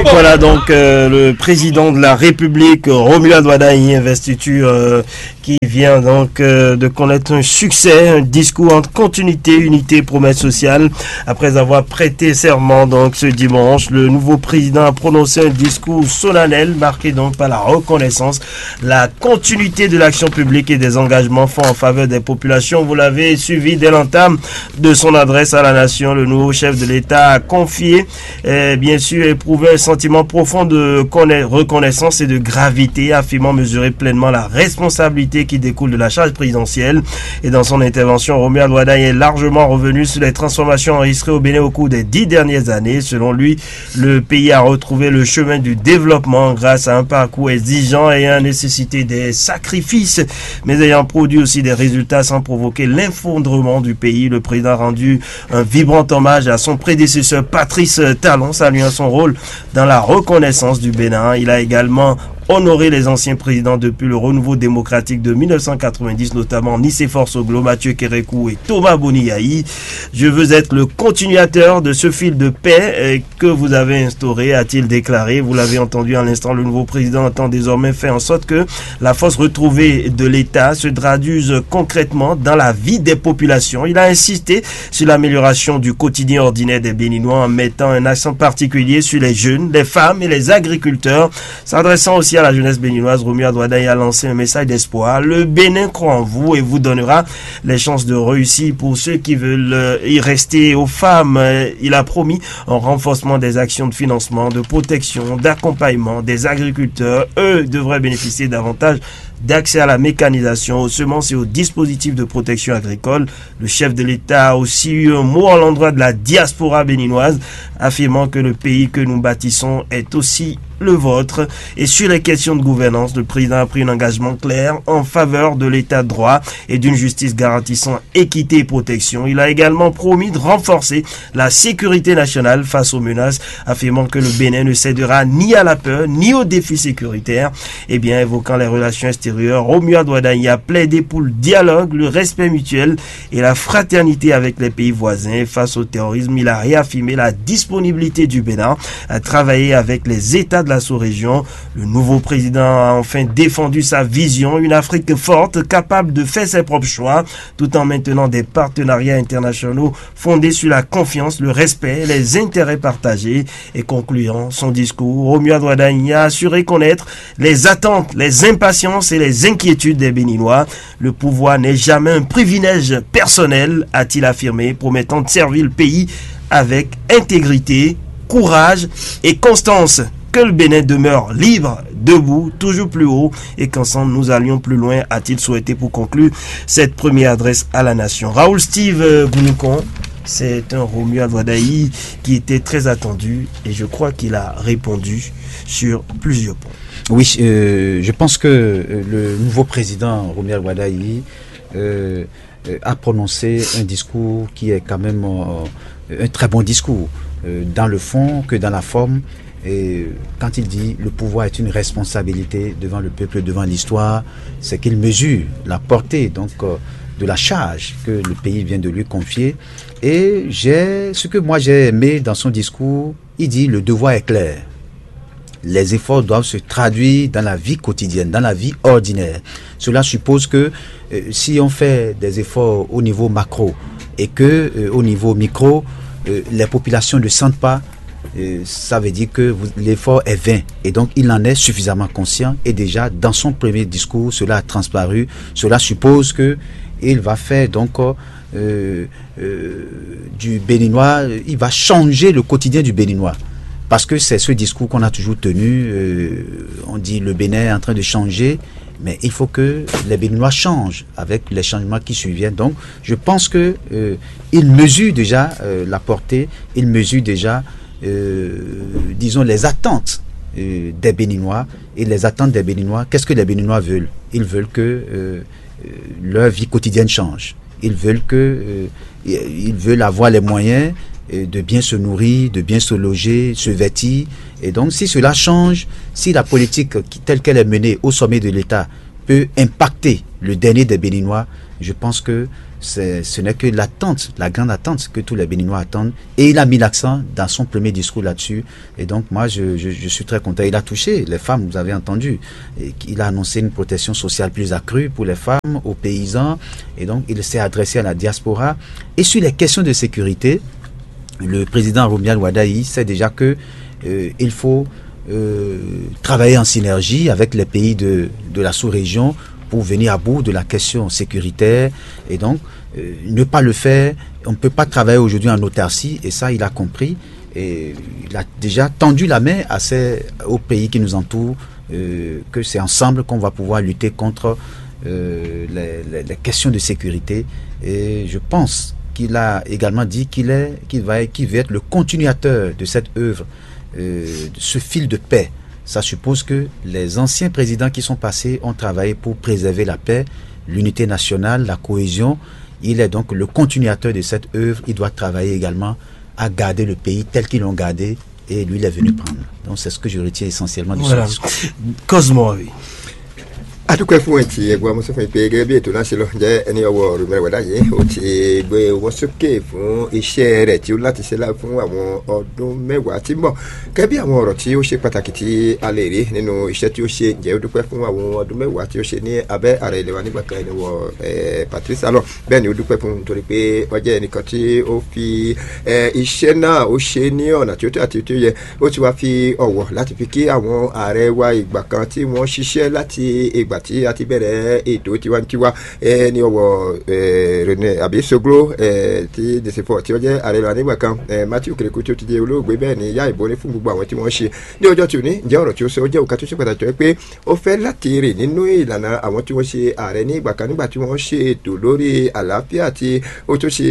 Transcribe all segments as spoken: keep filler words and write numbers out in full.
Voilà donc euh, le président de la République, Romuald Wadagni, investiture euh, qui vient donc euh, de connaître un succès, un discours en continuité, unité, promesse sociale. Après avoir prêté serment donc ce dimanche, le nouveau président a prononcé un discours solennel marqué donc par la reconnaissance, la continuité de l'action publique et des engagements forts en faveur des populations. Vous l'avez suivi dès l'entame de son adresse à la nation. Le nouveau chef de l'État a confié, euh, bien sûr, éprouvé un sentiment profond de reconnaissance et de gravité, affirmant mesurer pleinement la responsabilité qui découle de la charge présidentielle. Et dans son intervention, Romuald Wadagni est largement revenu sur les transformations enregistrées au Bénin au cours des dix dernières années. Selon lui, le pays a retrouvé le chemin du développement grâce à un parcours exigeant et à nécessité des sacrifices, mais ayant produit aussi des résultats sans provoquer l'effondrement du pays. Le président a rendu un vibrant hommage à son prédécesseur Patrice Talon, saluant son rôle dans la reconnaissance du Bénin. Il a également honoré les anciens présidents depuis le renouveau démocratique de mille neuf cent quatre-vingt-dix, notamment Nicéphore Soglo, Mathieu Kérékou et Thomas Boniyayi. Je veux être le continuateur de ce fil de paix euh, que vous avez instauré, a-t-il déclaré. Vous l'avez entendu à l'instant, le nouveau président entend désormais faire en sorte que la force retrouvée de l'État se traduise concrètement dans la vie des populations. Il a insisté sur l'amélioration du quotidien ordinaire des Béninois en mettant un accent particulier sur les jeunes, les femmes et les agriculteurs. S'adressant aussi à la jeunesse béninoise, Romuald Wadagni a lancé un message d'espoir. Le Bénin croit en vous et vous donnera les chances de réussir pour ceux qui veulent euh, y rester. Aux femmes, euh, il a promis un renforcement des actions de financement, de protection, d'accompagnement des agriculteurs. Eux devraient bénéficier davantage d'accès à la mécanisation, aux semences et aux dispositifs de protection agricole. Le chef de l'État a aussi eu un mot à l'endroit de la diaspora béninoise, affirmant que le pays que nous bâtissons est aussi le vôtre. Et sur les questions de gouvernance, le président a pris un engagement clair en faveur de l'état de droit et d'une justice garantissant équité et protection. Il a également promis de renforcer la sécurité nationale face aux menaces, affirmant que le Bénin ne cédera ni à la peur ni aux défis sécuritaires. Eh bien, évoquant les relations extérieures, Romuald Wadagni a plaidé pour le dialogue, le respect mutuel et la fraternité avec les pays voisins. Face au terrorisme, il a réaffirmé la disponibilité du Bénin à travailler avec les États de la sous-région. Le nouveau président a enfin défendu sa vision, une Afrique forte, capable de faire ses propres choix, tout en maintenant des partenariats internationaux fondés sur la confiance, le respect, les intérêts partagés. Et concluant son discours, Romuald Wadagni a assuré connaître les attentes, les impatiences et les inquiétudes des Béninois. Le pouvoir n'est jamais un privilège personnel, a-t-il affirmé, promettant de servir le pays avec intégrité, courage et constance. Que le Bénin demeure libre, debout, toujours plus haut, et qu'ensemble nous allions plus loin, a-t-il souhaité pour conclure cette première adresse à la nation. Raoul Steve euh, Bounoukon, c'est un Romuald Wadagni qui était très attendu et je crois qu'il a répondu sur plusieurs points. Oui, euh, je pense que euh, le nouveau président Romuald Wadagni euh, euh, a prononcé un discours qui est quand même euh, un très bon discours, euh, dans le fond que dans la forme. Et quand il dit le pouvoir est une responsabilité devant le peuple, devant l'histoire, c'est qu'il mesure la portée donc euh, de la charge que le pays vient de lui confier. Et j'ai ce que moi j'ai aimé dans son discours, il dit le devoir est clair. Les efforts doivent se traduire dans la vie quotidienne, dans la vie ordinaire. Cela suppose que euh, si on fait des efforts au niveau macro et que euh, au niveau micro, euh, les populations ne sentent pas, euh, ça veut dire que vous- l'effort est vain. Et donc, il en est suffisamment conscient. Et déjà, dans son premier discours, cela a transparu. Cela suppose que il va faire donc euh, euh, du Béninois, il va changer le quotidien du Béninois. Parce que c'est ce discours qu'on a toujours tenu. Euh, on dit le Bénin est en train de changer, mais il faut que les Béninois changent avec les changements qui surviennent. Donc, je pense que euh, il mesure déjà euh, la portée, il mesure déjà, euh, disons, les attentes euh, des Béninois. Et les attentes des Béninois, qu'est-ce que les Béninois veulent ? Ils veulent que euh, euh, leur vie quotidienne change. Ils veulent que euh, ils veulent avoir les moyens euh, de bien se nourrir, de bien se loger, se vêtir. Et donc, si cela change, si la politique qui- telle qu'elle est menée au sommet de l'État peut impacter le dernier des Béninois, je pense que C'est- ce n'est que l'attente, la grande attente que tous les Béninois attendent. Et il a mis l'accent dans son premier discours là-dessus. Et donc, moi, je, je- je suis très content. Il a touché les femmes, vous avez entendu. Et il a annoncé une protection sociale plus accrue pour les femmes, aux paysans. Et donc, il s'est adressé à la diaspora. Et sur les questions de sécurité, le président Romuald Wadagni sait déjà que euh, il faut euh, travailler en synergie avec les pays de, de la sous-région pour venir à bout de la question sécuritaire. Et donc, euh, ne pas le faire, on ne peut pas travailler aujourd'hui en autarcie, et ça, il a compris. Et il a déjà tendu la main à ces, aux pays qui nous entourent, euh, que c'est ensemble qu'on va pouvoir lutter contre euh, les, les- les questions de sécurité. Et je pense qu'il a également dit qu'il est, qu'il va, qu'il veut être le continuateur de cette œuvre, euh, de ce fil de paix. Ça suppose que les anciens présidents qui sont passés ont travaillé pour préserver la paix, l'unité nationale, la cohésion. Il est donc le continuateur de cette œuvre. Il doit travailler également à garder le pays tel qu'ils l'ont gardé et lui, il est venu prendre. Donc, c'est ce que je retiens essentiellement de ce discours. Cosmo, oui. Adúpẹ́ fún ẹ̀ tí ẹ gbọ́ ọmọ sọ fún mi pé gẹ́gẹ́ bí ètò náà ṣe lọ jẹ́ ẹni ọwọ́ rúmẹ́rẹ́ wẹ̀dá yìí, ó ti gbé owó sókè fún iṣẹ́ rẹ̀ tí ó láti ṣe lá- fún àwọn ọdún mẹ́wàá tí ń bọ̀. Gẹ́gẹ́ bí àwọn ọ̀rọ̀ tí ó ṣe pàtàkì tí a lè rí nínú iṣẹ́ tí ó ṣe, ǹjẹ́ ó dúpẹ́ fún àwọn ọdún mẹ́wàá tí ó ṣe ní abẹ́ ààrẹ ilẹ̀ wa nígbà kan, ẹni wọ eh, Patrice Talon. Bẹ́ẹ̀ ni ó dúpẹ́ fún un nítorí pé ó jẹ́ ẹnìkan tí ó fi eh, iṣẹ́ náà ó ṣe ní ọ̀nà tí ó tọ́ àti tí ó yẹ. Ó ti wá fi ọ̀wọ̀ láti fi kí àwọn ààrẹ wa ìgbà kan tí wọ́n ṣiṣẹ́ láti ìgbà tí a ti bẹ̀rẹ̀ ètò tiwantiwa eh, ní ọwọ́ eh, René àbí Soglo eh, tí Desefo tí ó jẹ́ ààrẹ lọ nígbà kan, eh, Matthew Kérékù tí ó ti di olóògbé, bẹ́ẹ̀ ni yá ìbò ní fún gbogbo àwọn tí wọ́n ṣe ní ọjọ́ tí ò ní. Ǹjẹ́ ọ̀rọ̀ tí ó sọ ó jẹ́ òkà tó ṣe pàtàkì tó yẹ pé ó fẹ́ láti rìn nínú ìlànà àwọn tí wọ́n ṣe ààrẹ ní ìgbà kan nígbà tí wọ́n ṣe ètò lórí àlàáfíà tí ó tún ṣe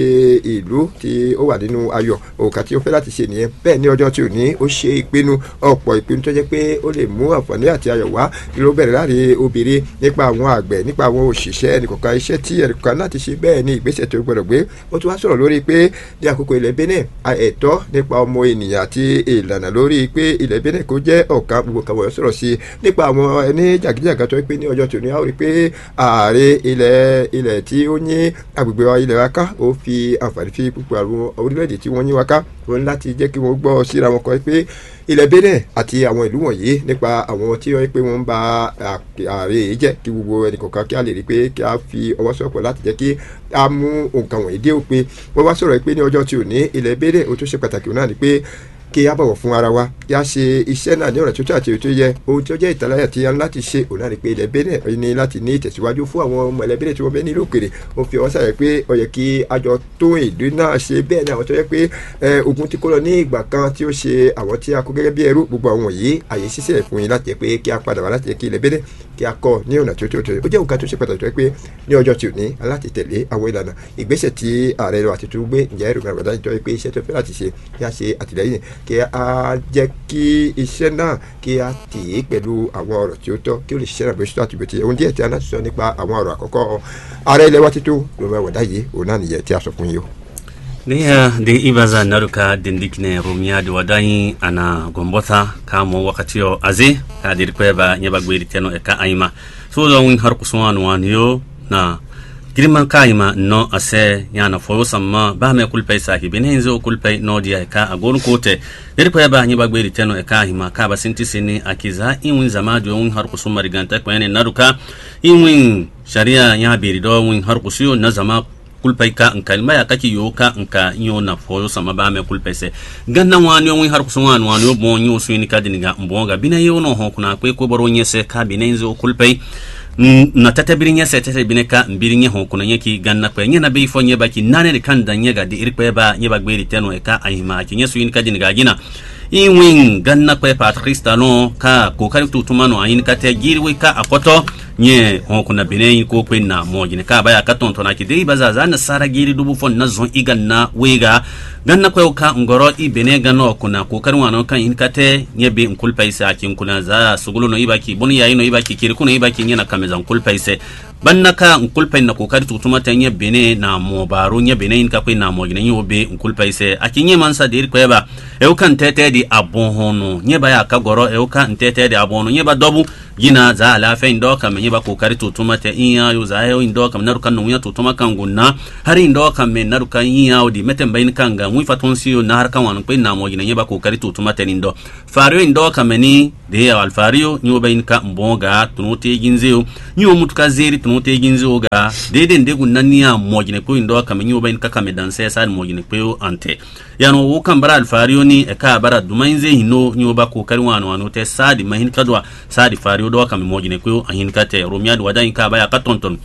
ìlú tí ó wà nínú ayọ̀. Òkà tí ó fẹ́ láti ṣe nìyẹn. Bẹ́ẹ̀ ní ọjọ́ tí ò ní, ó ṣe ìpinnu, ọ̀pọ̀ ìpinnu tó jẹ́ pé ó lè mú àǹfààní àti ayọ̀ wá, ló bẹ̀rẹ̀ láti obìnrin, nípa àwọn àgbẹ̀, nípa àwọn òṣìṣẹ́ ẹnìkọ̀ọ̀kan, iṣẹ́ tí ẹnìkọ̀ọ̀kan láti ṣe, bẹ́ẹ̀ ni ìgbésẹ̀ tó gbọdọ̀ gbé. Ó tún wá sọ̀rọ̀ lórí pé ní àkókò ilẹ̀ Benin, a- ẹ̀tọ́ nípa ọmọ ènìyàn àti ìlànà lórí pé ilẹ̀ Benin kò jẹ́ ọ̀kan, gbogbo kan wọ̀nyí sọ̀rọ̀ sí i. Nípa àwọn ẹni jàgídíjàgan tó pé ní ọjọ́ tòní, a ó rí pé ààrẹ ilẹ̀ ilẹ̀ tí ó ní agbègbè wa, ilẹ̀ wa ká, ó fi àǹfààní fi púpọ̀ àwọn orílẹ̀-èdè tí wọ́n yín wa ká, ó ní láti jẹ́ kí wọ́n gbọ́ síra wọn kọ́ pé ilẹ̀ Benin àti àwọn ìlú wọ̀nyí, nípa àwọn tí wọ́n pé wọ́n ń ba ààrẹ yìí jẹ́, kí gbogbo ẹnì kọ̀ọ̀kan kí a lè rí pé kí a fi ọwọ́ sọ̀pọ̀ láti jẹ́ kí a mú nǹkan wọ̀nyí dé òpin. Wọ́n wá sọ̀rọ̀ pé ní ọjọ́ tí ò ní, ilẹ̀ Benin, ó tún ṣe pàtàkì náà ni pé kí a bọ̀wọ̀ fún ara wa, kí a ṣe iṣẹ́ náà ní ọ̀nà tó tọ́ àti tó yẹ. Ohun tí ó jẹ́ ìtàláyà tí a ní láti ṣe, òun náà ni pé ilẹ̀ Benin ní láti ní ìtẹ̀síwájú fún àwọn ọmọ ilẹ̀ Benin tí wọ́n bẹ nílùú òkèrè. Ó fi ọwọ́ sàyẹ̀ pé ó yẹ kí a jọ tó ìlú náà ṣe. Bẹ́ẹ̀ ni àwọn tó yẹ pé eh, ogun tí kó lọ ní ìgbà kan tí ó ṣe àwọn tí a kó gẹ́gẹ́ bí ẹrú, gbogbo àwọn yìí, àyè ṣíṣe fún yín láti jẹ́ pé kí a padà wá láti jẹ́ kí ilẹ̀ Benin kí a kọ́ ní ọ̀nà tí ó tó tó. Ó jẹ́ nǹkan tó ṣe pàtàkì tó yẹ pé ní ọjọ́ tí ò ní, a láti tẹ̀lé àwọn ìlànà ìgbésẹ̀ tí ààrẹ wa ti tún gbé. Ǹjẹ́ èrò mẹ́rin wàdá nítorí pé iṣẹ́ tó fẹ́ láti ṣe, kí a ṣe àtìlẹ́yìn, kí a jẹ́ kí iṣẹ́ náà kí a tì í pẹ̀lú àwọn ọ̀rọ̀ tí ó tọ́, kí ó lè ṣiṣẹ́ náà bó ṣe tó àti bó ti yẹ. Ohun díẹ̀ tí a náà sọ nípa àwọn ọ̀rọ̀ àkọ́kọ́ ààrẹ ilẹ̀ wa títún ló máa wà dáyé, òun náà nìyẹn tí a sọ fún yín o. Niya de ibaza naruka dindikine rumia de wadanyi ana gombota ka mo wakati o azi ka diri kweba nyeba gweri teno e ka ayima. So do win har kusuwan wan yo na girman ka ayima no ase yana foyo samma ba me kulpay sahibi ne inzo kulpay no dia ka agon kote. Diri kweba nyeba gweri teno e ka ayima ka ba sinti sini akiza in win zama do win har kusuma riganta kwene naruka in win sharia nya biri do win har kusuyo na zama kulpay ka nka ni maya kaki yo ka nka nyo na foyo sama ba me kulpay se. Ganna wani o win har kusun wani wani o bon nyo su ni ka dini ga bon ga bina yo no ho kuna kwe ko boro nye se ka bina inzo kulpay. Na tete biri nye se tete bine ka biri nye ho kuna nye ki ganna kwe nye na be fo nye ba ki nane de kan da nye ga di iri kwe ba nye ba gberi teno e ka ayima ki nye su ni ka dini ga gina. In win ganna kwe Patrice Talon ka kokari tutuma no ayin ka te giri we ka akoto. Nye hɔn kuna bene yi ko kpe na mɔ jine ka baya ka tɔn tɔn aki dei baza za na sara giri dubu fɔ na zɔn iga na wega. Ganna kwe ka ngɔrɔ i bene ganna kuna ko kari wana kan in kate nye be nkul paisa aki nkuna za sugulu no ibaki boni ya ino ibaki kiri kuna ibaki nye na kameza nkul paise. Banna ka nkul pai na ko kari tutuma te nye bene na mɔ baro nye bene in ka kwe na mɔ jine nyo be nkul paise aki nye mansa deri kwe ba. Eu ka ntete di abɔn hɔn no nye baya ka gɔrɔ eu ka ntete di abɔn no nye ba dɔbu. Jina za alafia in dɔ kame nyeba kokari to tuma te in ayo za ayo in dɔ kame naruka no winya to tuma kango na. Hari in dɔ kame naruka in ayo di mete mba in kanga wi faton si yo na haraka wanu pe na mo jina nyeba kokari to tuma te in dɔ. Fario in dɔ kame ni de alfario nyo ba in ka mbon ga tunu te ginze yo. Nyo mutuka zeri tunu te ginze yo ga. De de ndegu nani a mo jina pe in dɔ kame nyo ba in ka kame dan se sa mo jina pe yo ante. Yano wo kan bara alfario ni e ka bara duma in ze hino nyo ba kokari wanu wanu te sa di mahin kadwa. Saadi fari ó ɖɔ wá kanmɛ mɔjinɛ kpé ó ahinkatɛ Romiadi wá dó anyika abáya ká tɔntɔn.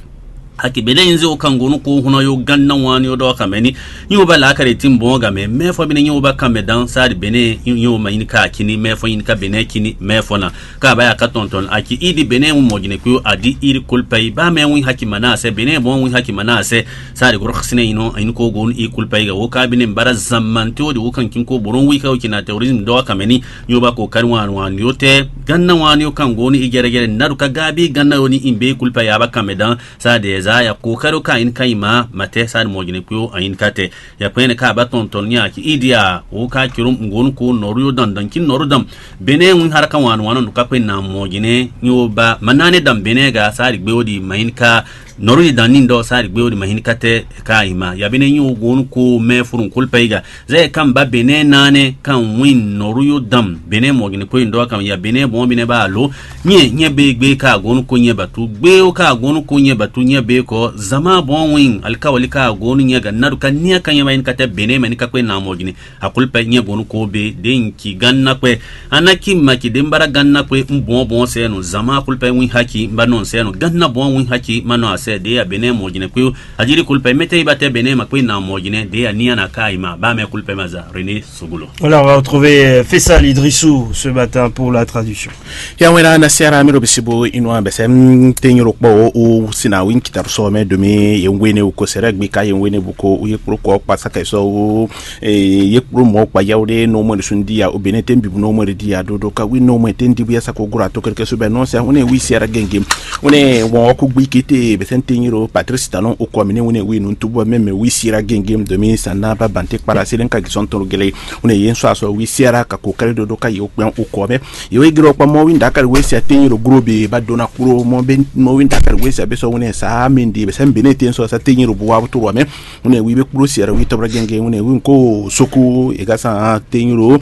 Aki bɛnɛ nyi zé ó kan gonu ko hɔn ɔ́ yó gán ná wán ní ó ɖɔ wá kanmɛ ní. Nyi ó ba lǎkàɖɛ tí bɔn ó gamɛ mɛ fɔ bí ní nyi ó ba kanmɛ dán saadi bɛnɛ nyi ó ma nyini ká akíní mɛ fɔ nyini ká bɛnɛ kíní mɛ fɔ ná. Ká abáya ká tɔntɔn aki ídi bɛnɛ ń mɔjinɛ kpé ó adi ídi kolpa yi bá mɛ ń haki ma ná asɛ bɛnɛ bɔn ń haki ma ná asɛ. Saadi gɔrɔ xasinɛ yi nɔ ayin ko gonu í kolpa yi ga wó ká bɛnɛ bara zamante ó di wó kan kin ko bɔn wí ká ó kina terrorisme ɖɔ wá kanmɛ ní. Nyo ba ko kari wan wan yo te ganna wan yo kan goni i gere gere naru ka gabi ganna yo ni in be kulpa ya ba kan medan. Sa de za ya ko karo ka in ka ima mate sa mo gine kpio ayin ka te. Ya pene ka ba ton ton nya ki idia o ka kirum ngonu ko noru yo dan dan ki noru dam. Bene un har ka wan wan no ka pe na mo gine nyo ba manane dam bene ga sa di gbe o di main ka noru di dan nin do sa di gbe o di mahin ka te ka ima. Ya bene nyo gonu ko me furun kulpa iga. Zɛ kan ba bɛnɛ naanɛ kan win nɔru yo dam bɛnɛ mɔgɛnɛ ko in dɔ kan ya bɛnɛ bɔn bɛnɛ ba alo. Nyɛ nyɛ be gbe ka gonu ko nyɛ batu gbe o ka gonu ko nyɛ batu nyɛ be kɔ zama bɔn win alika wali ka gonu nyɛ ga nadu ka nia ka nyɛ ba in ka tɛ bɛnɛ mɛ ni ka kpe na mɔgɛnɛ. Akol pɛ nyɛ gonu ko be de in ki gan na kpe. Ana ki ma ki de mbara gan na kpe mbɔn bɔn sɛ no zama akol pɛ win haki mba nɔ sɛ no gan na bɔn win haki ma nɔ asɛ de ya bɛnɛ mɔgɛnɛ ko. Ajiri kulpɛ mɛtɛ iba tɛ bɛnɛ ma kpe na mɔjinɛ de ya nia na ka ima ba mɛ kulpɛ ma za René Sogolo. Voilà, on va retrouver euh, Faisal Idrissou ce matin pour la traduction. Ya wena na siara mi ro bisibo inua bese tenyoro kpɔ o sina win kitab so me domi ye wene u ko sere gbi ka ye wene bu ko u ye kpro ko kpa saka so u ye kpro mo kpa ya de no mo sun dia o bene tembi no mo dia do do ka wi no mo tendi bu ya sako gura to keke so be no se une wi siara genge. Une won ɔku gbi kete bese tenyoro Patrice Talon o kɔ mi ne une wi nun tubo meme wi siara genge domi sana ba bante kpara silen ka gisɔn toro gele. Une yen so aso wi siara ka ko kare do do ka yo kpɛn o kɔ me. Yo igiro kpa mo wi ndakari we sia tenyoro gro be ba dona kuro mo be mo wi ndakari we sia be so une sa mindi be sen bene ten so sa tenyoro bu wa toro me. Une wi be kuro siara wi tobra genge une wi ko soku e ga sa tenyoro.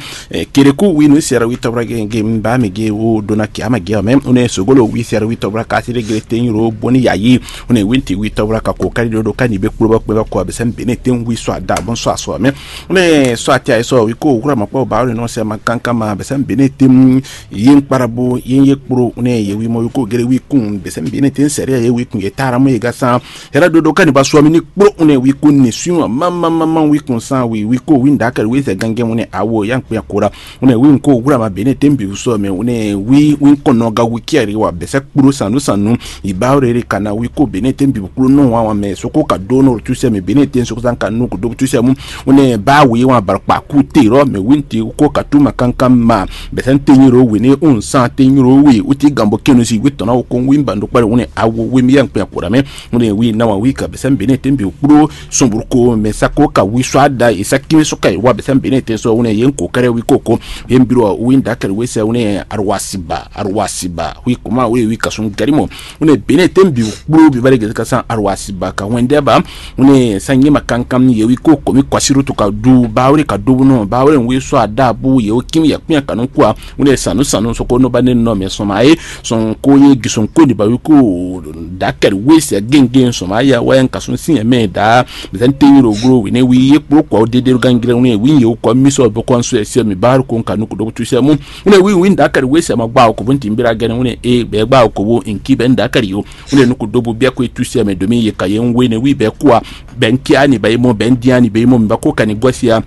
Kereku wi nu siara wi tobra genge ba mi ge wo dona kiama ge me une sogolo wi siara wi tobra ka sire gele tenyoro boni yayi. Une winti wi tobra ka ko kari do do ka ni be kuro ba kpe ba ko be sen bene ten wi so ada bon so aso me. Une so ati ayi so wi ko wura ma kpɔ ba ri no se ma kankan ma be sen bene tem yin kparabo yin ye kpro une ye wi mo wi ko gere wi kun be sen bene ten sere ye wi kun ye tara mo ye ga san. Hera do do ka ni ba so mi ni kpro une wi kun ni swi ma ma ma ma wi kun san wi wi ko wi ndakari wi se gange mo ne awo yan kpe akora. Une wi nko wura ma bene tembi so me une wi wi kono ga wi kiari wa be se kpro sanu sanu. Iba rere kana wi ko bene tembi kpro no wa wa me so ko ka do no tu se me bene ten so ko san ka no ko do tu se mu. Une ba wi wa bar pa ku te ro me winti ko ka tu ma kankan ma. Be sen tenyiro wi ne un san tenyiro wi uti gambo kenu si wi tona o kon wi mbando kpare une awo wi mi yan kpe akora me. Une wi na wa wi ka be sen bene tembi kpro sumburu ko me sa ko ka wi so ada isa kimi so ka wa be sen bene ten so une yen ko kare wi koko. Yen biro wi ndakari we se une arwasiba arwasiba wi kuma wi wi ka sun garimo. Une bene ten bi kplo bi bare gese ka san arwasiba ka wende ba. Une sanye ma kankan ye wi ko komi kwasiru to ka du ba wure ka du no ba wure wi so ada bu ye o kimi ya kpia kanu kwa. Une sanu sanu so ko no ba ne no me so ma e son ko ye gison ko ni ba wi ko dakari we se genge so ma ya wa yan ka sun sin me da. Bizan tenyiro gro wi ne wi ye kplo kwa o dede gangle une wi ye o kwa miso bo kon so se mi ba ko ka nu ko do tu se mu. Une wi wi ndakari we se ma gba ko bunti mbira gene une e be gba ko bo inki be ndakari yo. Une nu ko do bo bia ko tu se me domi ye ka ye we ne wi be kwa. Ben kiani ba mo ben diani be mo ba ko kani gosia.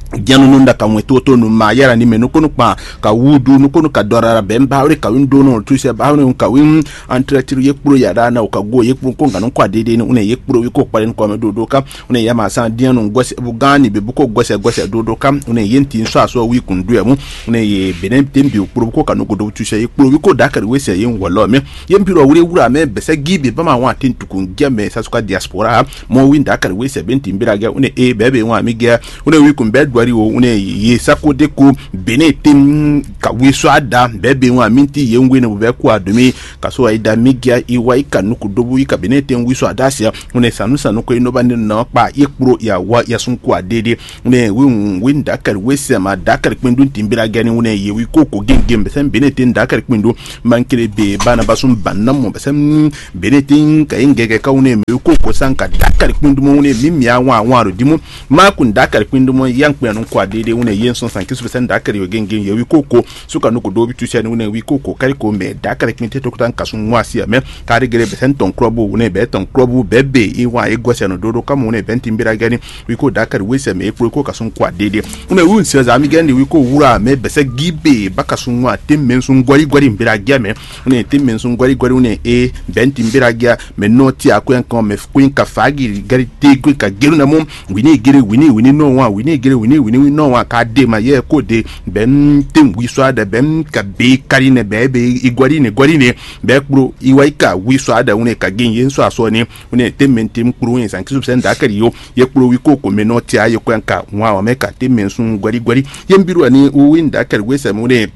Dianu nunda ka mwe toto nu ma yara ni me nu ko nu pa ka wudu nu ko nu ka dora ben ba ore ka win dono tu se ba ore ka win. Antre tiru ye kpro yara na ka go ye kpro ko nganu kwa dede ni une ye kpro wi ko kpalen ko me do do ka. Une ya ma san dianu gose bu gani be bu ko gose gose do do ka. Une yen tin so aso wi kun du mu. Une ye benen tem bi kpro ko ka nu ko do tu se ye kpro wi ko dakari we se ye wolo me. Ye mpiro wure wura me bese gibi ba ma wa tin tukun geme sa suka diaspora. Mo wi ndakari we se ben timbira ge une e bebe wa mi ge. Une wi kun be Kwɛ́ɖi o, un ne ye sako ɖe ko Benin tem ka wi sɔ ada bɛɛ be ŋu amiti ye ŋu ne bɛ ko adomi ka so ayi da mi gia i wa i ka nuku dobu i ka Benin tem wi sɔ ada sia un ne sanu sanu ko i nɔ ba ne nɔ kpa ye kplo ya wa ya sun ko adede un ne wi un wi nda kari we sɛ ma da kari kpindu timbira gɛni un ne ye wi ko ko gengem bɛ sɛn Benin tem da kari kpindu mankele be bana basun banna mɔ bɛ sɛn Benin tem ka ye ngɛgɛ ka un ne mi wi ko ko san ka da kari kpindu mo un ne mi mi awan awan ro dimu Maku nda kari kpindu mo yang kpɛnu kwa dede un ne ye sɔn san kisu bɛ sɛn da kari yo gengem ye wi ko ko suka nɔ ko ɖo wi tu sɛn wunɛ wi ko ko kari ko mɛ da kari kpin te tokuta nkasu ŋu asi amɛ kari gele bɛ sɛn tɔn klɔbu wunɛ bɛ tɔn klɔbu bɛ be i wa e gɔsɛ nɔ dodo kamu wunɛ bɛ nti mbira gɛni wi ko da kari wi sɛ mɛ e kpo ko kasu ŋu kwa dede wunɛ wi sɛ za mi gɛni wi ko wura mɛ bɛ sɛ gi be ba kasu ŋu ate mɛ sun gɔri gɔri mbira gɛ mɛ wunɛ te mɛ sun gɔri gɔri wunɛ e bɛ nti mbira gɛ mɛ nɔ ti akwɛ kan mɛ kuin ka fagi gari te kuin ka gelu na mɔ wini gere wini wini nɔ wa wini gere wini wini nɔ wa ka de ma yɛ ko de bɛ n te wi sɔ aɖe bɛ n ka be kari ne bɛ be igɔri ne gɔri ne bɛ kplo iwa ika wi sɔ aɖe wune ka gen ye sɔ asɔ ne wune te mɛ te kplo ye san kisu sɛ n da kari yo ye kplo wi ko ko mɛ nɔ tia ye kɔ ka wa wa mɛ ka te mɛ sun gɔri gɔri ye n bi ro ani wi n da kari we sɛ mo ne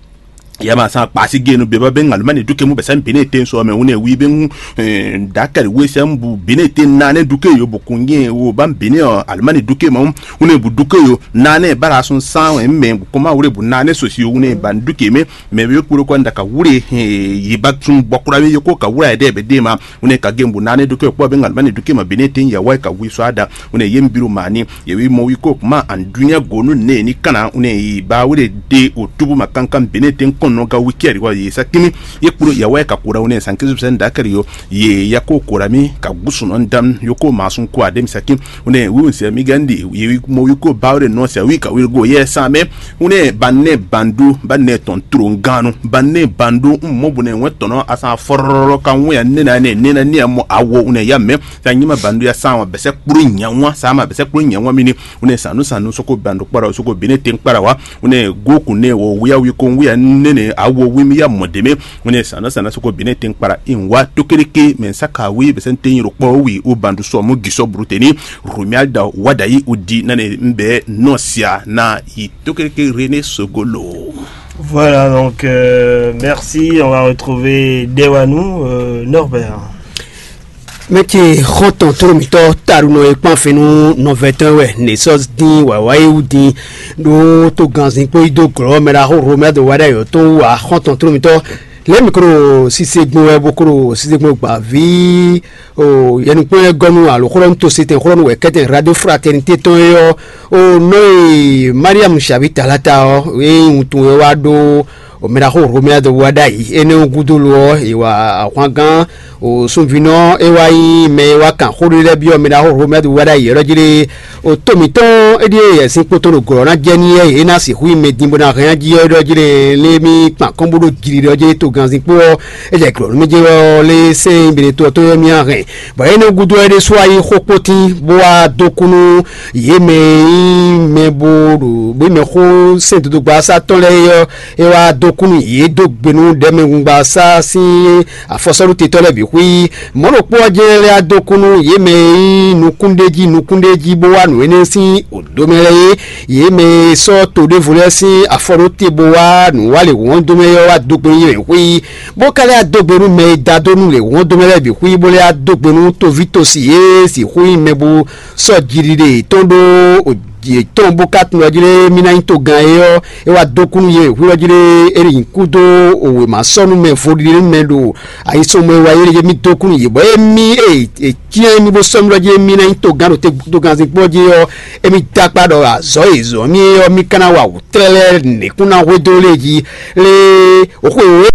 yama san kpasi genu beba be ŋaluma ni duke mu bɛsɛ bene te sɔ mɛ wune wi be ŋu dakari we sɛ bu bene te nane duke yo bu kun ye wo ba bene ɔ aluma ni duke ma wune bu duke yo nane bara sun san mɛ bu kɔma wure bu nane sosi wune ba duke mɛ mɛ be kporo kɔ ndaka wure yi ba sun bɔkura be yoko ka wura yɛ dɛ be de ma wune ka gen bu nane duke kpɔ be ŋaluma ni duke ma bene te yawa ka wi sɔ ada wune ye biro mani yewi mɔ wi ko kuma andunya gonu ne ni kana wune yi ba wure de o tubu ma kankan bene te kɔn nɔ ga wiki ari wa ye sakimi ye kpuro yawa ka kura wune san kizu sɛn dakari yo ye ya ko kura mi ka gusu nɔ ndam yo ko masun ko adem sakim wune wi wun sɛ mi gandi yewi mɔ wi ko ba wure nɔ sɛ wi ka wi go ye san mɛ wune ba ne bandu ba ne tɔn tro nganu ba ne bandu mɔ bu ne wɛ tɔnɔ asan fɔrɔrɔ ka wun ya ne na ne ne na ne mɔ awo wune ya mɛ sa nyima bandu ya san wa bɛsɛ kpuru nyawa sa ma bɛsɛ kpuru nyawa mini wune sanu sanu soko bandu kpara soko bine ten kpara wa wune goku ne wo wuya wi ko wuya nene awo wi mi ya mɔ deme wune sanu sanu soko bine ten kpara in wa tokereke mɛ saka wi bɛsɛ ten yiro kpɔ wi o bandu sɔ mu gisɔ bruteni rumia da wadayi udi nane mbɛ nɔ sia na yi tokereke René Sogolo. Voilà, donc euh, merci. On va retrouver Dewanou, euh, Norbert. Mɛ ce xɔntɔn tló mitɔ taɖunɔ e kpan fɛn nú nɔvɛtɔn wɛ ne sɔ dín wǎwá e wú dín ɖó tó ganzin kpó yi dó glɔ́ mɛ ɖaxó Romɛ do wá ɖe ayɔ tó wú wá xɔntɔn tló mitɔ lɛ́ mi klo sise gbɔn wɛ bó klo sise gbɔn gbǎví o yɛnukpɔ́n lɛ́ɛ gɔ́ nú alo xlɔ́ nú tositɛn xlɔ́ nú wɛ kɛ́tɛn radio fraternité tɔn é ɔ́ o nɔ e Mariam Xavi Talata ɔ́ e wuntun wɛ wá ɖó o mɛ ɖaxó Romɛ do wá ɖ'ayǐ énɛ́ ɔ́ gúdo lo ɔ́ è wa ahwangán o sunvínɔ é wá nyí mɛ e wá kan xó ɖé lɛ́ɛ byɔ́ mɛ ɖaxó Romɛ do wá ɖ'ayǐ ɛ́ ɖɔ jí ɖé o tó mǐtɔn é ɖíe yɛ sín kpótó ɖo glɔ̌ ná jɛ n'i é é ná sixú yi mɛ din bó ná hɛn jí ɔ́ ɖɔ jí ɖé lé mí kpan kɔ́n bó ɖo jǐ ɖɔ jí tó ganzin kpó ɔ́ é jɛ glɔ̌ nú mí jɛ ɔ́ lé sɛ́n bene tó ɔ́ tó yɔ mí á hɛn bɔ énɛ́ gúdo ɔ́ é ɖésú wá yí xó kpótín bó wá dó kú nú yě mɛ e nyí mɛ bó ɖo bó mɛ xó sɛn dodogba sá tɔn lɛ́ɛ é ɔ́ é wá dó kú nú yě dó gbe nú ɖɛ̌mɛgungba sá sín afɔsɔ́ɖutetɔ́ lɛ́ɛ bǐ xwí. Mɔ̌ ɖokpó ɔ́ jɛ́n lɛ́ wá dó kú nú yě mɛ e nyí nukúnɖéjí nukúnɖéjí bó wá nǔ énɛ́ sín òdó mɛ lɛ́ɛ é. Yě mɛ e sɔ́ to ɖěvo lɛ́ɛ sín afɔ ɖó te bó wá nǔwálěhǔn ɔ́ dó mɛ é ɔ́ wá dó gbe nú yě mɛ xwí, bó ka lɛ́ wá dó gbe nú mɛ e da dó nú lěhǔn ɔ́ dó mɛ lɛ́ɛ bǐ xwí, bó lɛ́ wá dó gbe nú toví tosi e sixú nyí mɛ bó sɔ́ jiɖiɖe yětɔn ɖó yětɔn bó ka tunwun ɔ́ jí lé mí ná nyí togán é ɔ́, é wá dó kú nú yě hwílɔ́ jí lé é nyi kú dó wěma sɔ́ nú mɛ vodílé mɛ ɖo ayisɔnmɔ e wá yé lé mí dó kú nú yě bɔ émí e è cyán émí bó sɔ́ mí lɔ́ jí émí ná nyí togán ɖo togánzin kpɔ́ jí ɔ́, émí dó akpá ɖɔ azɔ̌ e zɔ̌ mí é ɔ́ mí ka ná wa wǔ tlɛ́lɛ́ nǐkún ná hwedó lé jí lé xwe wǒ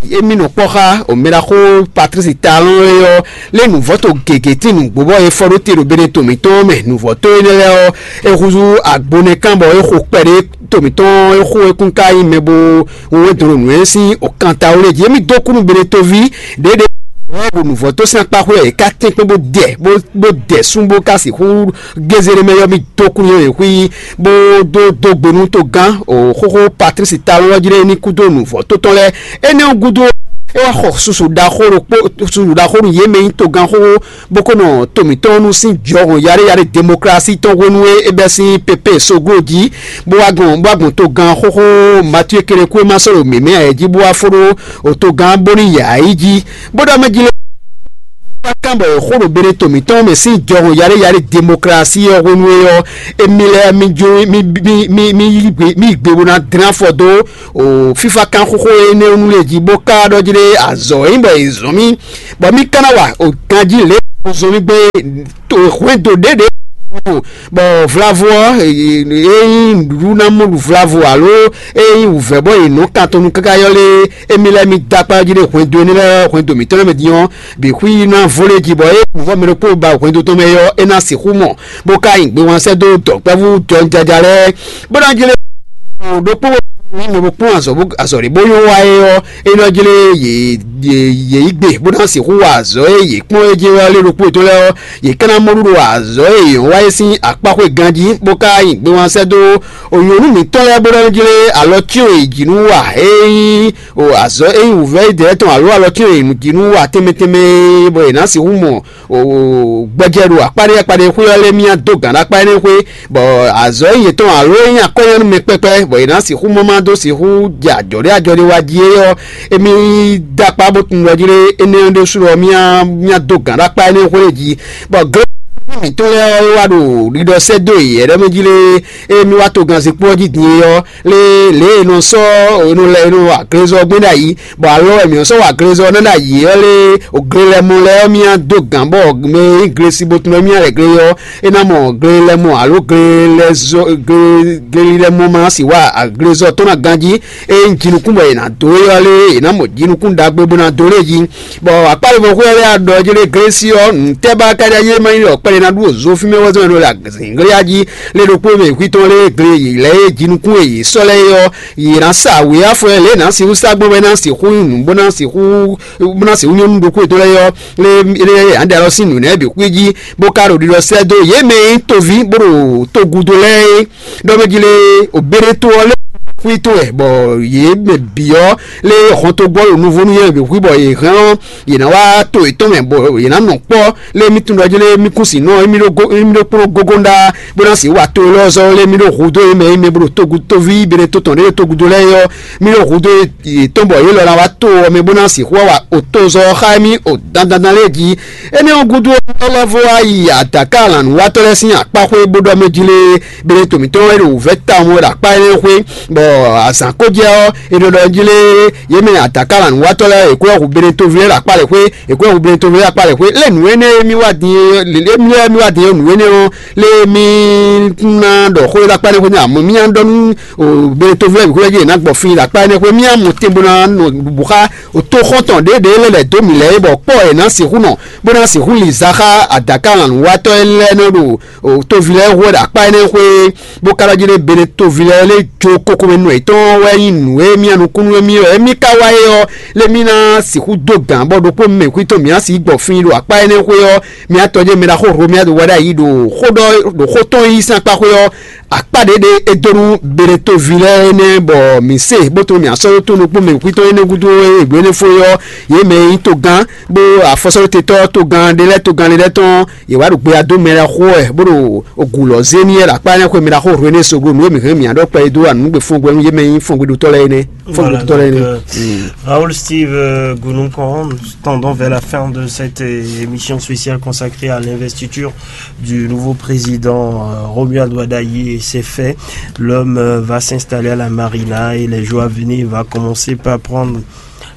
émí nɔ kpɔ́ xá omɛɖaxó Patlísi Talɔ́n é ɔ́, lé nǔvɔ́ to gěgé tín nǔgbó bɔ é fɔ ɖó te ɖo Beneto mǐtɔn mɛ. Nǔvɔ́ to énɛ́ lɛ́ɛ ɔ́, é húzú agbo nɛ́ kán bɔ é xo kpɛɖé to mǐtɔn é xo é kún ka nyí mɛ bó wɛn dɔn ɖo nǔ e sín okanta wú lé jí. Émí dó kú nú Beneto ví ɖěɖě bɔ nǔvɔ́ to sín akpá xwé ɔ́, é ka tɛ́nkpɛ́n bó dɛ bó dɛ sún bó ka sixú gézéɖémɛ yɔ mì dó kú nú yě xwí bó dó dó gbe nú togán o xóxó Patlísi Talɔ́n ɔ́ jí ɖé ní kúdó nǔvɔ́ tó tɔn lɛ́ɛ. Énɛ́ ɔ́ gúdo É wá xɔ susu ɖaxó ɖokpó, susu ɖaxó nú yě mɛ nyí togán xóxó, bó ko nɔ to mǐtɔn nu sín jɔhɔn yaɖé yaɖé demokrasi tɔn hwenu e é bɛ́ sín pépé soglo jí, bó wá gbɔn bó wá gbɔn togán xóxó Matíe Kelekúé ma sɔ́ ɖo mǐmɛ́ ayɛ jí bó wá fó ɖó togán bónú yǎ yi jí, bó ɖɔ mɛ jí lé. Wá kán bɔ è xó ɖo Beneto mǐtɔn mɛ sín jɔhɔn yaɖé yaɖé demokrasi ɔ́ hwenu e ɔ́, émí lɛ́ɛ mí jó mí mí mí mí yi gbe mí yi gbe bó ná dlɛ́n afɔ dó o fífá kán xóxó énɛ́ nu lě jí bó ká ɖɔ jí ɖé azɔ̌ e nyí bɔ è zɔn mì, bɔ mí ka ná wa o ganjí lě e zɔn mì gbé hwɛndo ɖěɖě bɔ vlavo ɔ́, e nyí nǔɖuɖu ná mɔ ɖu vlavo alo e nyí wǔvɛ́ bɔ è nɔ kan tɔn nú káká yɔ lé, émí lɛ́ɛ mí dó akpá jí ɖé hwɛndo énɛ́ lɛ́ɛ hwɛndo mǐtɔn lɛ́ɛ mɛ din ɔ́, bǐ xwí ná vó lé jí bɔ é nǔvɔ mɛ ɖokpó ba hwɛndo tɔn mɛ ɔ́, é ná sixú mɔ, bó ka nyi gbe wǎn sɛ́ dó dɔ̌nkpɛ́vú jɔnjaja lɛ́ɛ, bó ná jlé ɖokpó ní mɛ bó kpɔ́n azɔ̌ ɖě bó nyɔ́ wa é ɔ́, é nɔ jlé yě yě yí gbe bó ná sixú wa azɔ̌ e yě kpɔ́n é jí wɛ lé ɖokpó yětɔn lɛ́ɛ ɔ́, yě ká ná mɔ ɖuɖu azɔ̌ e yě nyɔ́ wa é sín akpáxwé ganjí, bó ka nyi gbe wǎn sɛ́ dó nyɔ̌nu mǐtɔn lɛ́ɛ bó nɔ jlé alɔ cyɔ́n yě jí nú wa é nyí o azɔ̌ e nyí wǔvɛ́ idɛɛ tɔn alo alɔ cyɔ́n yě jí nú wa tɛnmɛ tɛnmɛ, bɔ yě ná sixú mɔ gbɛjɛ ɖo akpá ɖé akpá ɖé xwé ɔ́ lé mì dó gǎn ɖo akpá énɛ́ xwé, bɔ azɔ̌ e yětɔn alo e nyí akɔ́nyanú mɛ kpɛkpɛ, bɔ è nǎ sixú mɔ má dó sixú jɛ ajɔ̌ ɖé ajɔ̌ ɖé wá jí é ɔ́, émí dó akpá bó tunwun ɖɔ jí lé énɛ́ ɔ́ ɖésú ɔ́, mì ná dó gǎn ɖo akpá énɛ́ xwé jí, bɔ glé mǐtɔn lɛ́ɛ ɔ́ wá ɖo ɖiɖɔ sɛ́ dó yě ɖɛ́ mɛ jí lé, ée mì wá togannzikpó ɔ́ jí din é ɔ́, lé lě e è nɔ sɔ́ è nɔ lɛ è nɔ wa glezɔ gbɛ́n ɖ'ayǐ, bɔ alɔ wɛ mǐ nɔ sɔ́ wa glezɔ ná ɖ'ayǐ ɔ́ lé, glelɛmɔ lɛ́ɛ ɔ́ mì ná dó gǎn bɔ mɛ e nyí glesibotun ɔ́ mì ná lɛ gle ɔ́, é ná mɔ glelɛmɔ alo glelɛzɔ glelilɛmɔ ma ná si wa glezɔ tɔn ná ganjí, ée nyí jinukún bɔ è nǎ dó é ɔ́ lé, è nǎ mɔ jinukún ɖagbe bó ná dó lé jí. Bɔ akpá ɖěvo xwé ɔ́ lɛ́ ɖɔ jí lé glesi ɔ́, nǔtɛ́ ba ka ɖi ayé ma nyí ɖɔ kpɛɖé ná ɖu zó fí mɛ wɛ zɔn ɖo azǐnglé jí lé ɖokpó mɛ kwí tɔn lé gle yě lɛ́ e jinukún e yě sɔ́ lɛ́ɛ é ɔ́, yě ná sa wě afɔ lě e nǎ sixú sa gbɔn bɔ é ná sixú nyí nǔ bó ná sixú bó ná sixú nyɔ́ nú ɖokpó yětɔn lɛ́ɛ ɔ́, lé lé yě ná ɖe alɔ sín nǔ nɛ́ bǐ xwí jí, bó ka ɖo ɖiɖɔ sɛ́ dó yě mɛ e nyí toví bó ɖo togudo lɛ́ɛ é. Ɖɔ mɛ jí lé, obéɖétó ɔ́ lé xwí tɔn wɛ, bɔ yě mɛ bǐ ɔ́ lé hɔntogbɔ ɖo nuvó nú yě bǐ xwí, bɔ yě hɛn ɔ́, yě ná wá to yětɔn mɛ, bɔ yě ná nɔ kpɔ́ lé mì tunwun ɖɔ jí lé mì kún sin nɔ émí ɖó go émí ɖó kplɔ́n gogo ɖá bó ná sixú wa to élɔ́ zɔ́ lé mì ɖó hudó yě mɛ, yě mɛ bó ɖo togu toví béɖétó tɔn ɖé ɖo togudo lɛ́ɛ é ɔ́, mì ɖó hudó yětɔn bɔ yě lɔ ná wá to ɔ́ mɛ bó ná sixú wa otozɔ xá émí o dandandan lɛ́ɛ jí. Énɛ́ ɔ́ gúdo ɔ́, é lɛ́ vɔ wá yi adǎka lǎnúwatɔ́ lɛ́ɛ sín akpáxwé bó ɖɔ mɛ jí lé, bele to mǐtɔn e ɖo wǔvɛ́ tawun wɛ ɖo akpá énɛ́ xwé, bɔ azǎn ko jɛ ɔ́, è nɔ ɖɔ jí lé, yě mɛ adǎka lǎnúwatɔ́ lɛ́ɛ è ko wɛ hu bele toví lɛ́ɛ ɖo akpá lɛ́ɛ xwé, è ko wɛ hu bele toví lɛ́ɛ ɖo akpá lɛ́ɛ xwé, lé nǔ énɛ́ e mì wá din é, lé mì wá din é nǔ énɛ́ ɔ́, lé mì ná ɖɔ xó e ɖo akpá énɛ́ xwé nú amɔ mì ná ɖɔ nú bele toví lɛ́ɛ bǐ xwé jí è nǎ gbɔ fí ɖo akpá énɛ́ xwé, mì ná mɔ tɛn bó ná nɔ bubu xá o tóxɔ́ntɔn ɖěɖě lɛ́ lɛ̌ dó mǐ lɛ́ɛ é, bɔ kpɔ́ è nǎ sixú nɔ, bó ná sixú li za xá adǎka lǎnúwatɔ́ lɛ́ɛ nɔ ɖo toví lɛ́ɛ hu wɛ ɖo akpá énɛ́ xwé, bó ka ɖɔ jí ɖé bene toví lɛ́ɛ lé jó kókó mɛ nú yětɔn wɛ nyí nǔ e mì nukúnnú e mì wɛ émí ka wá é ɔ́, lé mì ná sixú dó gǎn bɔ ɖokpó mɛ kwítɔn mǐ ná sixú gbɔ fí ɖo akpá énɛ́ xwé ɔ́, mì atɔjé mɛ ɖaxó Romiado wɛ ɖ'ayǐ ɖo xó ɖɔ ɖo xó tɔn yí sín akpá xwé ɔ́, akpá ɖě ɖe é dó nú Beɖetoví lɛ́ɛ énɛ́ bɔ mǐ se bó tunwun mǐ asɔ́ ɖó tó nukún mɛ kwítɔ́ énɛ́ gúdo e hwenu énɛ́ fó é ɔ́, yě mɛ e nyí togán bó afɔsɔ́ɖótetɔ́ togán ɖé lɛ́ɛ togán ɖé lɛ́ɛ tɔn, yě wá ɖo gbeyadó mɛ lɛ́ɛ xo wɛ bó ɖo gǔ lɔ́ zé n'i wɛ ɖo akpá énɛ́ xwé mɛ ɖaxó hwenu énɛ́ soglo nǔ e mǐ hɛn mǐ ná ɖɔ kpɛ e dó wa nǔgbé fún gbɛ nú yě mɛ e nyí fɔ́ngbéɖótɔ́ lɛ́ɛ énɛ́. Voilà, donc, euh, Raoul Steve euh, Gounoumkon, tendons vers la fin de cette euh, émission spéciale consacrée à l'investiture du nouveau président euh, Romuald Wadagni et ses faits. L'homme euh, va s'installer à la marina et les jours à venir va commencer par prendre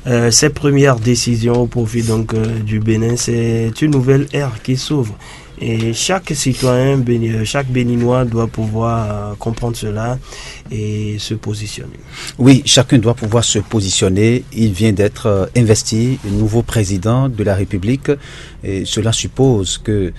euh, ses premières décisions au profit donc euh, du Bénin. C'est une nouvelle ère qui s'ouvre. Et chaque citoyen, chaque Béninois doit pouvoir comprendre cela et se positionner. Oui, chacun doit pouvoir se positionner. Il vient d'être euh, investi nouveau président de la République. Et cela suppose que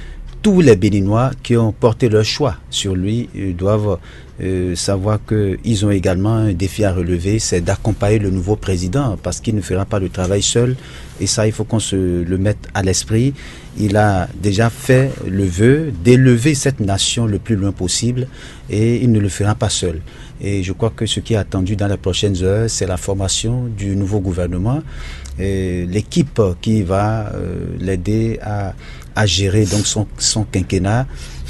tous les Béninois qui ont porté leur choix sur lui euh, doivent euh, savoir qu'ils ont également un défi à relever, c'est d'accompagner le nouveau président parce qu'il ne fera pas le travail seul. Et ça, il faut qu'on se le mette à l'esprit. Il a déjà fait le vœu d'élever cette nation le plus loin possible et il ne le fera pas seul. Et je crois que ce qui est attendu dans les prochaines heures, c'est la formation du nouveau gouvernement, et l'équipe qui va euh, l'aider à, à gérer donc son, son quinquennat.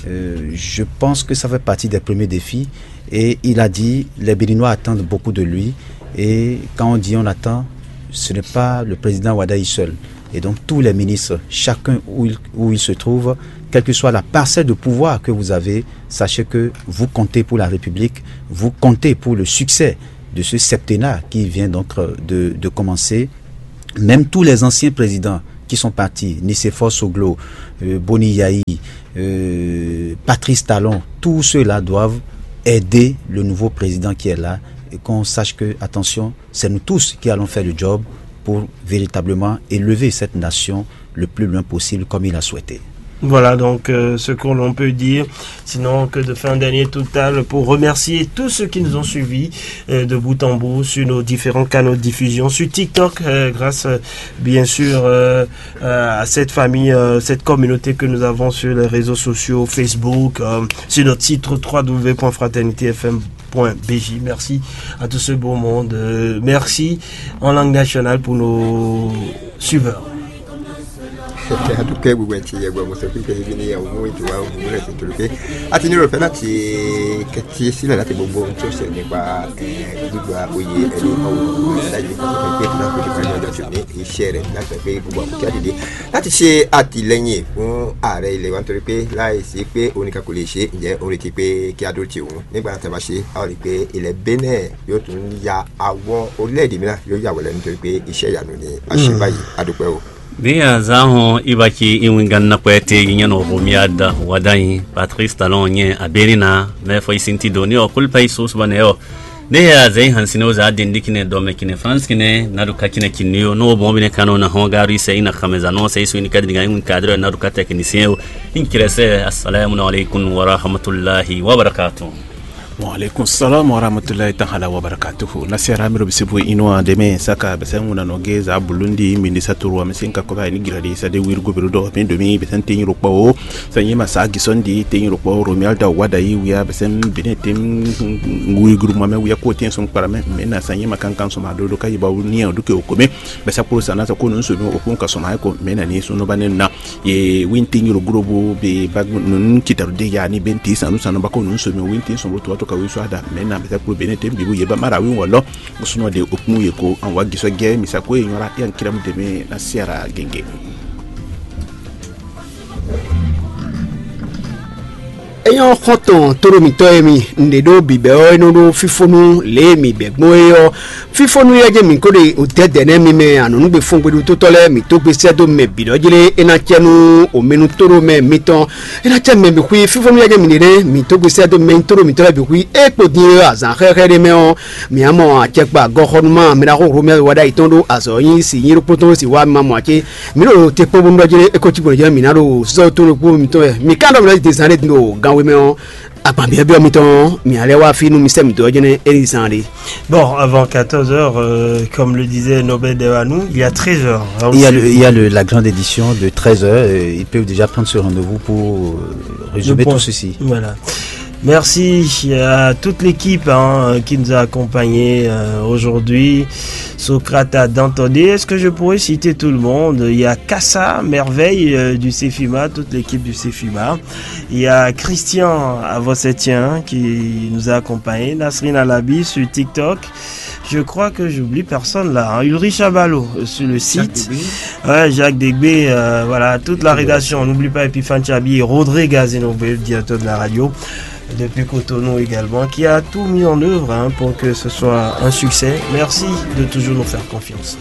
Euh, je pense que ça fait partie des premiers défis. Et il a dit, les Béninois attendent beaucoup de lui. Et quand on dit on attend, ce n'est pas le président Wadaï seul. Et donc tous les ministres, chacun où il, où il se trouve, quelle que soit la parcelle de pouvoir que vous avez, sachez que vous comptez pour la République, vous comptez pour le succès de ce septennat qui vient donc euh, de, de commencer. Même tous les anciens présidents qui sont partis, Nicéphore Soglo, euh, Boni Yayi, euh, Patrice Talon, tous ceux-là doivent aider le nouveau président qui est là et qu'on sache que, attention, c'est nous tous qui allons faire le job pour véritablement élever cette nation le plus loin possible comme il a souhaité. Voilà donc euh, ce que l'on peut dire. Sinon, que de faire un dernier total pour remercier tous ceux qui nous ont suivis euh, de bout en bout sur nos différents canaux de diffusion, sur TikTok, euh, grâce euh, bien sûr euh, euh, à cette famille, euh, cette communauté que nous avons sur les réseaux sociaux, Facebook, euh, sur notre site trois w point fraternité f m point b j. Merci à tout ce beau monde. Euh, merci en langue nationale pour nos suiveurs. Atukɛ gbogbo ɛtsi yɛ gbɔ muso kpikpe yi ni yawu mu itu wa mu lɛ tutu ke. Ati ni rɔfɛ na ti kɛti si la lati gbogbo ŋutsu se ni gba gbigba oye ɛni mawu da yi ko ko pe na ko ko na da tuni iṣẹ́ rẹ̀ na pe gbogbo amukia dide. Láti ṣe àtìlẹ́yìn fún ààrẹ ilẹ̀ wa nítorí pé láìsí pé oníkan kò lè ṣe, ǹjẹ́ ó retí pé kí a dó ti òun nígbà tá a bá ṣe, a ó rí i pé ilẹ̀ Benin yóò tún ya àwọn orílẹ̀-èdè mìíràn yóò yà wọlé nítorí pé iṣẹ́ ìyanu ni a ṣe báyìí. A dúpẹ́ o. Ni a zan hɔn i ba ci i wingannakpɛ te yi nyɛ nɔ homi a da wada yi Patrice Talon nyɛ aberi na mɛ fɔ i sinti do ni ɔ kulpa i so suba nɛ ɔ. Ne a zɛ i hansi ne o za den di kinɛ dɔmɛ kinɛ France kinɛ na do ka kinɛ kinni o n'o bɔn bi ne kan na hɔn gari sɛ i na xamɛ za nɔ sɛ i so i ni ka di ga i win cadre na do ka technicien o. In kɛrɛsɛ, assalamu alaikum wa rahmatullahi wa barakatuh. Wa alaikum salam wa rahmatullahi ta'ala wa barakatuhu. Nasiara miro bisibu inu a deme saka bese nguna no ge za bulundi mindi saturu wa mesin ka koba ni giradi sa de wir gubiro do min domi besen tin ro kpo. Sa yema sa gison di tin ro kpo Romuald da wada yi wiya besen bine tin wir guru mame wiya ko tin son para me na sa yema kan kan so ma do do ka yi ba ni o duke o kome. Besa kpolo sa na sa ko nun so mi o kun ka so ma ko me na ni so no ba ne na. Ye winti nyiro gurobo be bag nun kitaru de ya ni benti sanu sanu bako nun so mi winti so to to ka wi so ada me na besa kpolo bene tem bibu ye ba mara wi wolo. Musuno de okmu ye ko an wa giso ge mi sa ko ye nyora yan kiram de me na siara genge. Enyɔ xɔntɔn tóɖo mǐtɔn e mi ǹɖe ɖó bǐbɛ́ ɔ́, é nɔ ɖó fífónú lě e mǐ bɛ̌ gbɔn é ɔ́. Fífónú yɛ́ jɛ́n mǐ ko ɖe òdɛ́dɛ̌ nɛ́ mi mɛ anɔ̌nugbe fɔ́ngbedótótɔ́ lɛ́ɛ mǐ dó gbesísɛ́ dó mɛ bǐ ɖɔ jlé é ná cɛ nú omenu tóɖomɛ mitɔn. É ná cɛ mɛ bǐ xwí fífónú yɛ́ jɛ́n mǐ ɖe nɛ́ mǐ dó gbesísɛ́ dó mɛ nyí tóɖo mǐtɔn lɛ́ɛ bǐ xwí é kpo din é azǎn xɛxɛ ɖé mɛ ɔ́. Mǐ á mɔ acɛkpa gɔxɔnúmá mɛ ɖaxó Romɛ́ wa ɖ'ayǐ tɔn ɖó azɔ̌ nyi si nyi ɖokpó tɔn ɖó si wá mì ma mɔ acé. Mǐ ɖo te kpɔ́n bónú ɖɔ jɛ́n é ko cí gbɔn jɛ́n mǐ ná ɖo sɔ́ tó ɖokpó mitɔn wɛ. Mǐ ka ɖɔ mǐ ɖɔ dezan ɖé din ɖo gan wé mɛ ɔ́, agban byɔ́byɔ́ mitɔn ɔ́, mǐ ná lɛ́ wá fí nú mi sɛ́ mǐ dó ɔ́ jɛ́n é ní zán ɖé. Bon, avant quatorze heures, euh, comme le disait Nobel Devanou, il y a treize heures. Là aussi. Il y a, le, il y a le, la grande édition de treize heures. Euh, ils peuvent déjà prendre ce rendez-vous pour euh, résumer tout ceci. Voilà. Merci à toute l'équipe hein, qui nous a accompagnés euh, aujourd'hui. Socrate a Dantodé, est-ce que je pourrais citer tout le monde ? Il y a Kassa, Merveille euh, du Cefima, toute l'équipe du Cefima. Il y a Christian Avossetien qui nous a accompagnés, Nasrine Alabi sur TikTok. Je crois que j'oublie personne là. Hein. Ulrich Abalo euh, sur le site. Ouais, Jacques Degbé, euh, voilà, toute la rédaction. On n'oublie pas Epiphane Chabi et Rodrigue Azenobe, le directeur de la radio, depuis Cotonou également, qui a tout mis en œuvre hein, pour que ce soit un succès. Merci de toujours nous faire confiance.